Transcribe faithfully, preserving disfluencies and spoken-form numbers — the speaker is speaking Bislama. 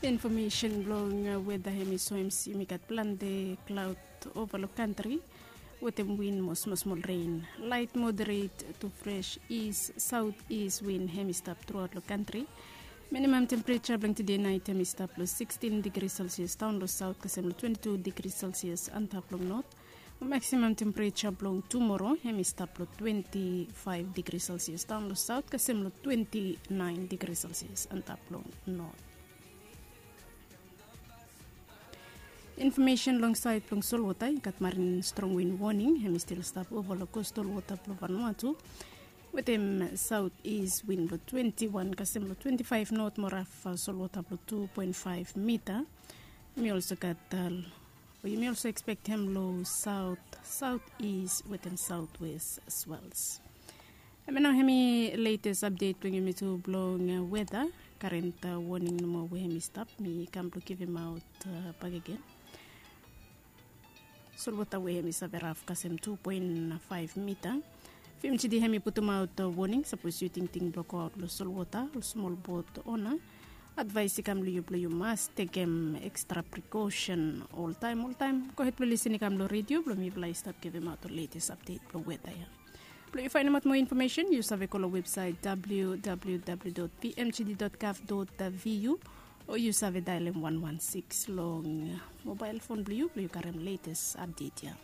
Infomesen blong weda hem i soem se yumi gat plante klaod ova long kantri wetem win mo smosmol ren, lait moderet tu fres is saot is win hem i stap truaot long kantri. Minimam tempereja blong tude nait hem i stap long sikstin digri selsias daon long saot kasem long twenti tu digri selsias antap long not. Maksimam tempereja blong tumoro hem i stap long twenti faef digri selsias daon long saot kasem long twenti naen digri selsias antap long not. Infomesen long saed blong solwota i gat marin strong win woning hem i stil stap ova long kostal wota blong Vanuatu wetem saot is win blong twenti wan kasem long twenti faef not mo raf solwota blong tu poen faef mita. Yumi olso gat, yumi olso ekspektem long saot saot is wetem saot wes swels. Hemia nao hemi letes apdet blong yumi tu blong weda. Karen woning nomo we hemi stap mi kam blong givimaot bakegen. Solwota we hemi save raf kasem tu poen faef mita. Fimtidi hemi putumaot woning sapos yu tingting blong goaot long solwota ol smol bot ona. Advaes i kam long yu blong yu mas tekem ekstra prikosen oltaem oltaem. Gohed blong lisin i kam long redio blong mifala i stap givimaot ol letes apdet blong weda ya. Blong yu faenemaot moa infomesen yu save go long websaet www pmgd gov vu o yu save daelem wan wan sikis long mobael fon blong yu blong yu karem letes apdet ya.